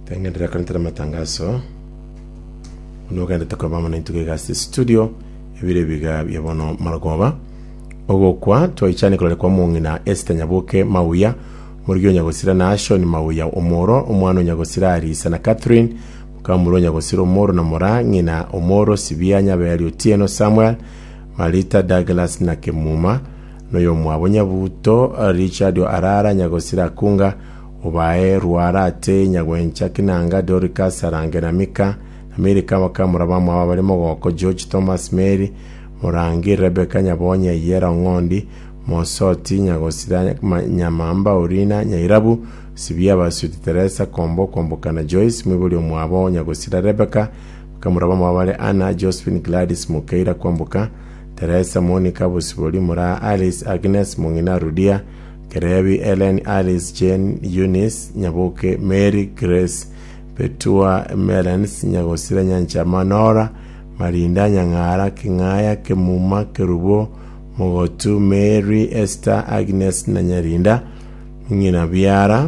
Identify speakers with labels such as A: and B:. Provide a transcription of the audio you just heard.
A: Tengenderera korentera amatangaso buna ogendete koba amo naintwe iga ase studio ebire ebiga bia bono marogoba. Ogokwa twaichane korore kwa omong'ina Esther Nyaboke Mauya, omorigi o Nyagosira Nashon Mauya Omoro, omwana o Nyagosira Arisa na Catherine, mokamura o Nyagosira Omoro na Moraa, ng'ina Omoro Sibia Nyaberi Otieno Samuel, Marita Douglas na Kemuma, noyomwabo Nyabuto Richard Arara Nyagosira Akunga, Obae Rwara Ate Nyagwencha Kinanga Doricas Sarange na Mika na Milika abakamura bamwabo abare Mogoko George Thomas Mary Morangi Rebecca Nyabonyi Ayiera Ong'ondi Mosoti Nyagosira Nyamamba Orina Nyairabu Sibia Basuti Teresa Kombo Kwamboka na Joyce Mwibori omwabo Nyagosira Rebecca Bakamura bamwabo bare Anna Josephine Gladys Mokeira Kwamboka Teresa Monica Bosibori Moraa Alice Agnes Mong'ina Rudia Kerebi Ellen Alice Jane Eunice Nyaboke Mary Grace Betua Melens Nyagosira Nyanchama Nora Marinda Nyang'ara King'aya Kemuma Kerubo Mogotu Mary Esther Agnes na Nyarinda Ng'ina Biara.